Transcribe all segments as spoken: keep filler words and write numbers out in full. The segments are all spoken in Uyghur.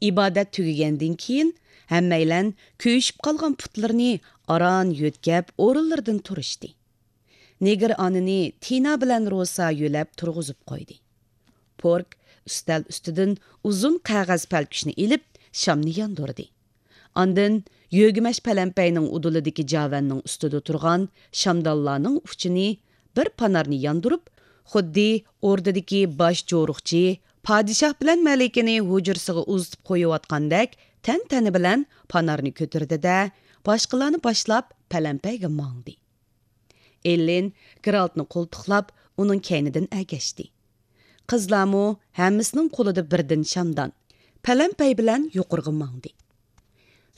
ئىبادەت تۈگىگەندىن كېيىن، ھەممەيلەن كۆيۈشۈپ قالغان پۇتلىرىنى ئاران يۆتكەپ، ئورۇنلىرىدىن تۇرۇشتى. نېگىر ئانىنى تىنا بىلەن روسا يۆلەپ تۇرغۇزۇپ قويدى. پورك ئۈستەل ئۈستىدىن ئۇزۇن قەغەز پەلكۈشنى ئېلىپ، شامنى ياندۇردى. ئاندىن يۆگىمەش پەلەمپەينىڭ ئۇدۇلىدىكى جاۋەننىڭ ئۈستىدە تۇرغان شامدانلارنىڭ ئۇچىنى بىر پانارنى ياندۇرۇپ، خۇددى ئوردىدىكى باش جورۇقچى پادىشاھ بىلەن مەلىكىنى ھۇجرىسىغا ئۇزىتىپ قويۇۋاتقاندەك تەنتەنە بىلەن پانارنى كۆتۈردى-دە، باشقىلارنى باشلاپ پەلەمپەيگە ماڭدى. ئېللىن گېرالتنى قولتۇقلاپ، ئۇنىڭ كەينىدىن ئەگەشتى. قىزلارمۇ ھەممىسىنىڭ قولىدا بىردىن شامدان، پەلەمپەي بىلەن يۇقىرىغا ماڭدى.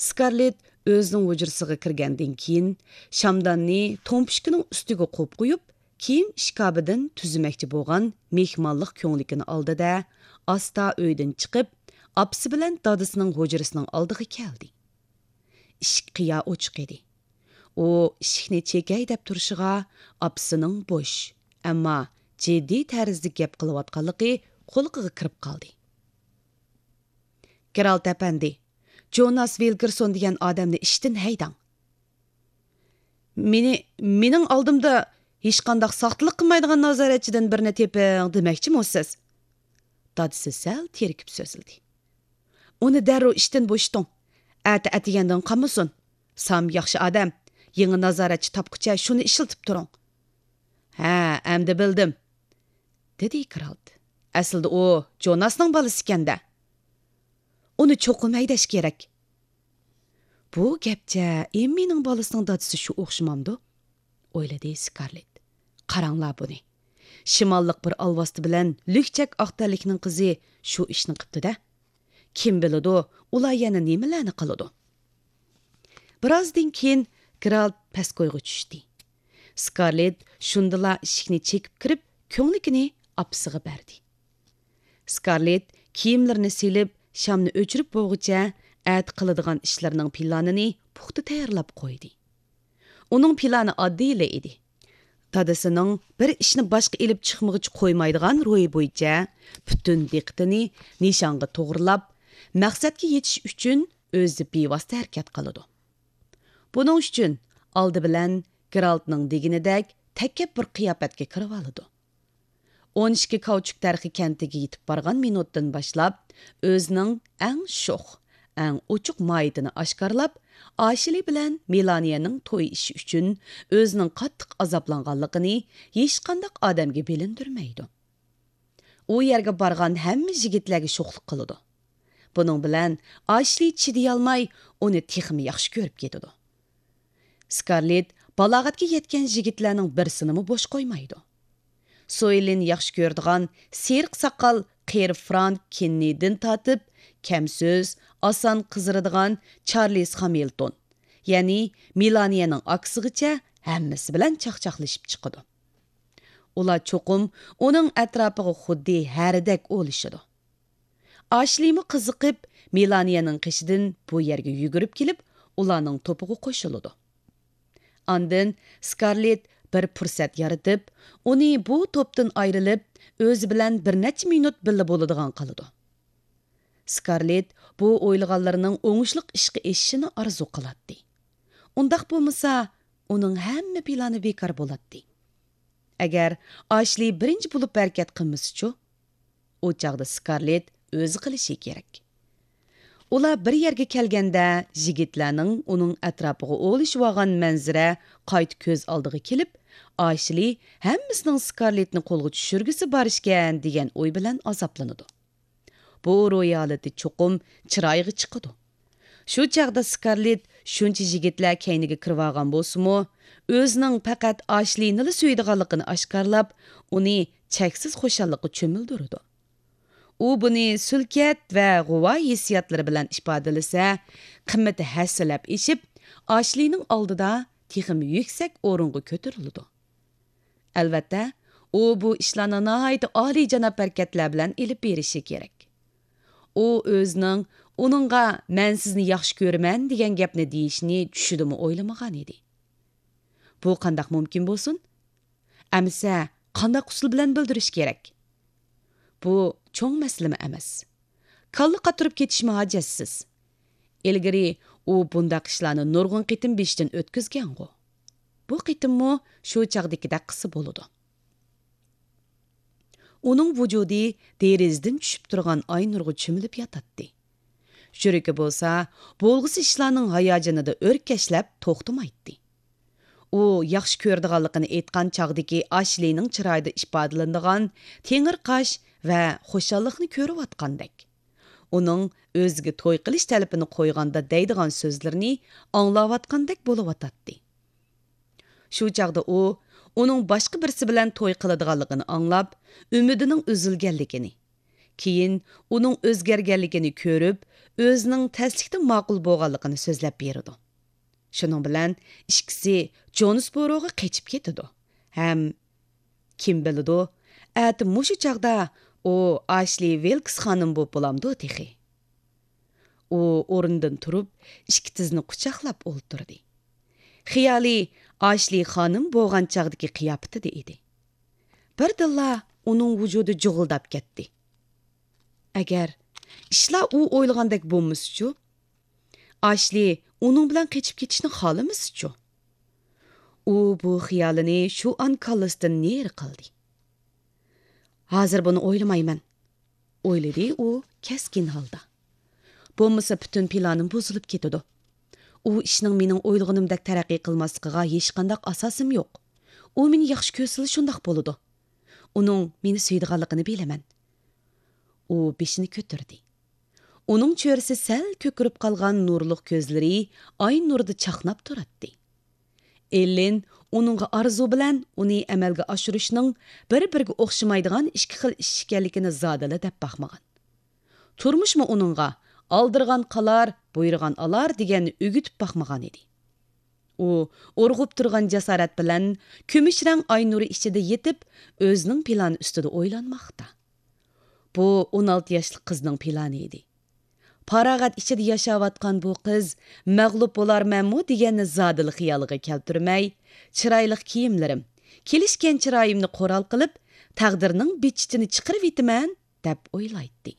سكارلېت ئۆزىنىڭ ھۇجرىسىغا كىرگەندىن كېيىن، شامداننى تومپۇشكىنىڭ ئۈستىگە قويۇپ قويۇپ، كىيىم ئىشكاپىدىن تۈزىمەكچى بولغان مېھمانلىق كۆڭلىكىنى ئالدى-دە، ئاستا ئۆيدىن چىقىپ، ئاپىسى بىلەن دادىسىنىڭ ھۇجرىسىنىڭ ئالدىغا كەلدى. ئىشىك قىيا ئوچۇق ئىدى. ئۇ ئىشىكنى چېكەي دەپ تۇرۇشىغا، ئاپىسىنىڭ بوش، ئەمما جىددىي تەرزدە گەپ قىلىۋاتقانلىقى قۇلىقىغا كىرىپ قالدى. گېرالت ئەپەندى، جوناس ۋىلگېرسون دېگەن ئادەمنى ئىشتىن ھەيدەڭ. مېنى، مېنىڭ ئالدىمدا ھېچقانداق ساختىلىق قىلمايدىغان نازارەتچىدىن بىرنى تېپىڭ دېمەكچىمۇ سىز؟ دادىسى سەل تېرىكىپ سۆزلىدى. ئۇنى دەررۇ ئىشتىن بوشىتىڭ. ئەتە ئەتىگەندىن قالمىسۇن. سام ياخشى ئادەم. يېڭى نازارەتچى تاپقۇچە شۇنى ئىشلىتىپ تۇرۇڭ. ھە، ئەمدى بىلدىم، دېدى گېرالت. ئەسلىدە ئۇ جوناسنىڭ بالىسى ئىكەن-دە. ئۇنى چوقۇم ھەيدەش كېرەك. بۇ گەپچە ئېممىنىڭ بالىسىنىڭ دادىسى شۇ ئوخشىمامدۇ؟ ئويلىدى سكارلېت. قاراڭلار بۇنى. شىماللىق بىر ئالۋاستى بىلەن لۈكچەك ئاق تەنلىكنىڭ قىزى شۇ ئىشنى قىپتۇ-دە. كىم بىلىدۇ، ئۇلار يەنە نېمىلەرنى قىلىدۇ؟ بىرازدىن كېيىن گېرالت پەسكويغا چۈشتى. سكارلېت شۇندىلا ئىشىكنى چېكىپ كىرىپ، كۆڭلىكىنى ئاپىسىغا بەردى. سكارلېت كىيىملىرىنى سېلىپ، شامنى ئۆچۈرۈپ بولغۇچە، ئەتە قىلىدىغان ئىشلىرىنىڭ پىلانىنى پۇختا تەييارلاپ قويدى. ئۇنىڭ پىلانى ئاددىيلا ئىدى. دادىسىنىڭ بىر ئىشنى باشقا ئېلىپ چىقمىغۇچە قويمايدىغان روھى بويىچە پۈتۈن دىققىتىنى نىشانغا توغرىلاپ، مەقسەتكە يېتىش ئۈچۈن ئۆزى بىۋاسىتە ھەرىكەت قىلىدۇ. بۇنىڭ ئۈچۈن ئالدى بىلەن گېرالتنىڭ دېگىنىدەك تەكەببۇر قىياپەتكە كىرىۋالىدۇ. ئون ئىككى كاۋچۇك دەرىخى كەنتىگە يېتىپ بارغان مىنۇتتىن باشلاپ، ئۆزىنىڭ ئەڭ شوخ، ئەڭ ئوچۇق ماھىيىتىنى ئاشكارىلاپ، ئاشلى بىلەن مېلانىيەنىڭ توي ئىشى ئۈچۈن ئۆزىنىڭ قاتتىق ئازابلانغانلىقىنى ھېچقانداق ئادەمگە بىلىندۈرمەيدۇ. ئۇ يەرگە بارغان ھەممە يىگىتلەرگە شوخلۇق قىلىدۇ. بۇنىڭ بىلەن ئاشلى چىدىيالماي، ئۇنى تېخىمۇ ياخشى كۆرۈپ كېتىدۇ. سكارلېت بالاغەتكە يەتكەن يىگىتلەرنىڭ بىرسىنىمۇ بوش قويمايدۇ. سويلىن ياخشى كۆرىدىغان سېرىق ساقال قېرى فرانك كېننېدىن تارتىپ، كەم سۆز، ئاسان قىزىرىدىغان چارلىز خامىلتون، يەنى مېلانىيەنىڭ ئاكىسىغىچە ھەممىسى بىلەن چاقچاقلىشىپ چىقىدۇ. ئۇلار چوقۇم ئۇنىڭ ئەتراپىغا خۇددى ھەرىدەك ئولىشىدۇ. ئاشلىمۇ قىزىقىپ، مېلانىيەنىڭ قېشىدىن بۇ يەرگە يۈگۈرۈپ كېلىپ، ئۇلارنىڭ توپىغا قوشۇلىدۇ. ئاندىن سكارلېت بىر پۇرسەت يارىتىپ، ئۇنى بۇ توپتىن ئايرىلىپ، ئۆزى بىلەن بىر نەچچە مىنۇت بىللە بولىدىغان قىلىدۇ. سكارلېت بۇ ئويلىغانلىرىنىڭ ئوڭۇشلۇق ئىشقا ئېشىشىنى ئارزۇ قىلاتتى. ئۇنداق بولمىسا، ئۇنىڭ ھەممە پىلانى بىكار بولاتتى. ئەگەر ئاشلى بىرىنچى بولۇپ ھەرىكەت قىلمىسىچۇ؟ ئۇ چاغدا سكارلېت ئۆزى قىلىشى كېرەك. ئۇلار بىر يەرگە كەلگەندە، يىگىتلەرنىڭ ئۇنىڭ ئەتراپىغا ئولىشىۋالغان مەنزىرە قايتا كۆز ئالدىغا كېلىپ، ئاشلى ھەممىسىنىڭ سكارلېتنى قولغا چۈشۈرگۈسى بار ئىكەن، دېگەن ئوي بىلەن ئازابلىنىدۇ. بۇ روھىي ھالىتى چوقۇم چىرايغا چىقىدۇ. شۇ چاغدا سكارلېت شۇنچە يىگىتلەر كەينىگە كىرىۋالغان بولسىمۇ، ئۆزىنىڭ پەقەت ئاشلىنىلا سۆيىدىغانلىقىنى ئاشكارىلاپ، ئۇنى چەكسىز خۇشاللىققا چۆمۈلدۈرىدۇ. ئۇ بۇنى سۈلكەت ۋە غۇۋا ھېسسىياتلىرى بىلەن ئىپادىلىسە، قىممىتى ھەسسىلەپ ئېشىپ، ئاشلىنىڭ ئالدىدا تېخىمۇ يۈكسەك ئورۇنغا كۆتۈرۈلىدۇ. ئەلۋەتتە، ئۇ بۇ ئىشلارنى ناھايىتى ئالىيجاناب ھەرىكەتلەر بىلەن ئېلىپ بېرىشى كېرەك. ئۇ ئۆزىنىڭ ئۇنىڭغا «مەن سىزنى ياخشى كۆرىمەن» دېگەن گەپنى دېيىشىنى چۈشىدىمۇ ئويلىمىغان ئىدى. بۇ قانداق مۇمكىن بولسۇن؟ ئەمىسە، قانداق ئۇسۇل بىلەن بىلدۈرۈش كېرەك؟ بۇ چوڭ مەسىلىمۇ ئەمەس. كاللا قاتۇرۇپ كېتىشمۇ ھاجەتسىز. ئىلگىرى ئۇ بۇنداق ئىشلارنى نۇرغۇن قېتىم بېشىدىن ئۆتكۈزگەنغۇ. بۇ قېتىممۇ شۇ چاغدىكىدەك قىلسا بولىدۇ. ئۇنىڭ ۋۇجۇدى دېرىزىدىن چۈشۈپ تۇرغان ئاي نۇرغا چۆمۈلۈپ ياتاتتى. يۈرىكى بولسا بولغۇسى ئىشلارنىڭ ھاياجىنىدا ئۆركەشلەپ توختىمايتتى. ئۇ ياخشى كۆرىدىغانلىقىنى ئېيتقان چاغدىكى ئاشلىنىڭ چىرايىدا ئىپادىلىنىدىغان تېڭىرقاش ۋە خۇشاللىقنى كۆرۈۋاتقاندەك، ئۇنىڭ ئۆزىگە توي قىلىش تەلىپىنى قويغاندا دەيدىغان سۆزلىرىنى ئاڭلاۋاتقاندەك بولۇۋاتاتتى. شۇ چاغدا ئۇ ئۇنىڭ باشقا بىرسى بىلەن توي قىلىدىغانلىقىنى ئاڭلاپ، ئۈمىدىنىڭ ئۈزۈلگەنلىكىنى، كېيىن ئۇنىڭ ئۆزگەرگەنلىكىنى كۆرۈپ، ئۆزىنىڭ تەسلىكتە ماقۇل بولغانلىقىنى سۆزلەپ بېرىدۇ. شۇنىڭ بىلەن ئىككىسى جونسبوروغا قېچىپ كېتىدۇ ھەم كىم بىلىدۇ، ئەتە مۇشۇ چاغدا ئۇ ئاشلى ۋىلكس خانىم بولۇپ بولامدۇ تېخى؟ ئۇ ئورنىدىن تۇرۇپ، ئىككى تىزىنى قۇچاقلاپ ئولتۇردى. خىيالى ئاشلى خانىم بولغان چاغدىكى قىياپىتىدە ئىدى. بىردىنلا ئۇنىڭ ۋۇجۇدى جۇغۇلداپ كەتتى. ئەگەر ئىشلار ئۇ ئويلىغاندەك بولمىسىچۇ؟ ئاشلى ئۇنىڭ بىلەن قېچىپ كېتىشنى خالىمىسىچۇ؟ ئۇ بۇ خىيالىنى شۇ ئان كاللىسىدىن نېرى قىلدى. ھازىر بۇنى ئويلىمايمەن، ئويلىدى ئۇ كەسكىن ھالدا. بولمىسا پۈتۈن پىلانىم بۇزۇلۇپ كېتىدۇ. ئۇ ئىشنىڭ مېنىڭ ئويلىغىنىمدەك تەرەققىي قىلماسلىقىغا ھېچقانداق ئاساسىم يوق. ئۇ مېنى ياخشى كۆرسىلا شۇنداق بولىدۇ. ئۇنىڭ مېنى سۆيىدىغانلىقىنى بىلىمەن. ئۇ بېشىنى كۆتۈردى. ئۇنىڭ چۆرىسى سەل كۆكىرىپ قالغان نۇرلۇق كۆزلىرى ئاي نۇرىدا چاقناپ تۇراتتى. ئېللىن ئۇنىڭغا ئارزۇ بىلەن ئۇنى ئەمەلگە ئاشۇرۇشنىڭ بىر-بىرىگە ئوخشىمايدىغان ئىككى خىل ئىش ئىكەنلىكىنى زادىلا دەپ باقمىغان. تۇرمۇشمۇ ئۇنىڭغا «ئالدىرىغان قالار، بۇيرۇغان ئالار» دېگەننى ئۆگىتىپ باقمىغان ئىدى. ئۇ ئۇرغۇپ تۇرغان جاسارەت بىلەن كۈمۈش رەڭ ئاي نۇرى ئىچىدە يېتىپ، ئۆزىنىڭ پىلانى ئۈستىدە ئويلانماقتا. بۇ ئون ئالتە ياشلىق قىزنىڭ پىلانى ئىدى. پاراغەت ئىچىدە ياشاۋاتقان بۇ قىز مەغلۇپ بولارمەنمۇ دېگەننى زادىلا خىيالىغا كەلتۈرمەي، «چىرايلىق كىيىملىرىم، كېلىشكەن چىرايىمنى قورال قىلىپ، تەقدىرنىڭ بىچىتىنى چىقىرىۋېتىمەن» دەپ ئويلايتتى.